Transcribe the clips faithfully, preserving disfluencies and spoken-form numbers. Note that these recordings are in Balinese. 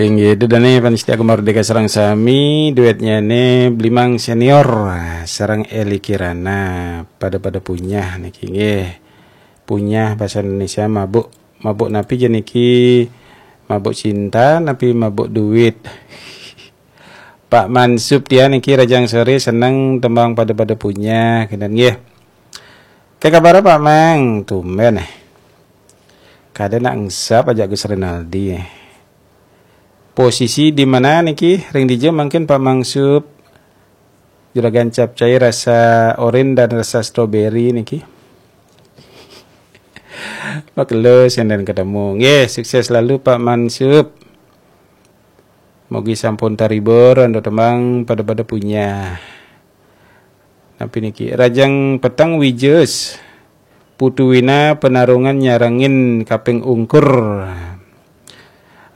Inggih, ida dané pamiarsa Gema Merdeka sareng sami, duétnyané Blimang Senior sareng Eli Kirana, pada-pada punyah niki nggih. Punyah basa Indonesia mabuk, mabuk napi ja niki? Mabuk cinta napi mabuk duit? Pak Mansub tiang niki rahajeng soré seneng tembang pada-pada punyah, kénten nggih. Ké kabar Pak Mang, tumbén éh. Kada nak engsap ajak Gus Rinaldi éh. Posisi di mana niki? Ring dija mangkin Pak Mansub? Juragan capcay rasa orange dan rasa strawberry niki. Makelo senden ketemu. Nggih, sukses selalu Pak Mansub. Mugi sampun taribur antuk tembang pada-pada punyah. Napi niki? Rahajeng peteng Wijes. Putu Wina Penarungan nyarengin kaping ungkur.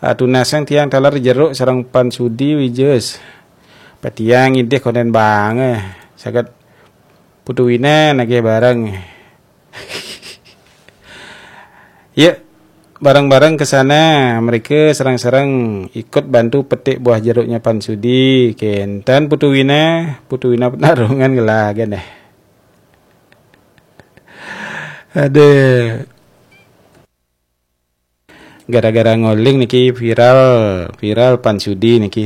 Atunasang tiang taler jeruk sareng Pan Sudi Wijes. Patiang idih konden bang éh. Saget Putu Wina nagih bareng. Yuk, bareng-bareng ke sana. Mereka sareng-sareng ikut bantu petik buah jeruknya Pan Sudi. Kénten Putu Wina, Putu Wina Penarungan gelagan éh. Aduh. Gara-gara ngoling niki viral, viral Pan Sudi niki.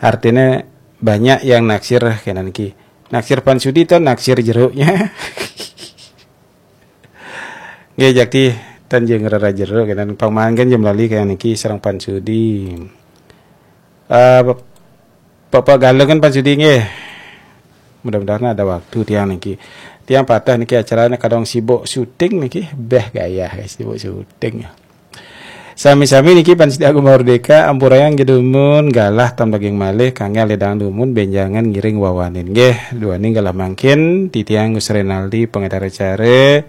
Artinya banyak yang naksir kénten niki. Naksir Pan Sudi to naksir jeruknya. Nggih, jakti tan jeung rera jeruk kénten, pang mangkin ja melali kaya niki sareng Pan Sudi. Eh, Bap-, Bapak Galungan Pan Sudi nggih. Mudah-mudahan ada waktu tiang niki. Tiang patah niki acaranya kadang sibuk syuting niki. Béh gaya guys, sibuk syuting. Sami-sami niki Pan Sidi Agung Merdeka, ampurayang ja dumun, galah tam daging malih, kangge ledang dumun, benjangan ngiring wawanin. Nggih, duaning galah mangkin, titiang Gus Renaldi, pengedar acara,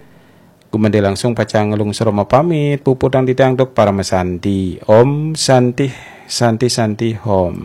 gumedhe langsung pacang nglungsur mapamit, puputang titiang tuk parama santi. Om Santi, Santi, Santi, Om.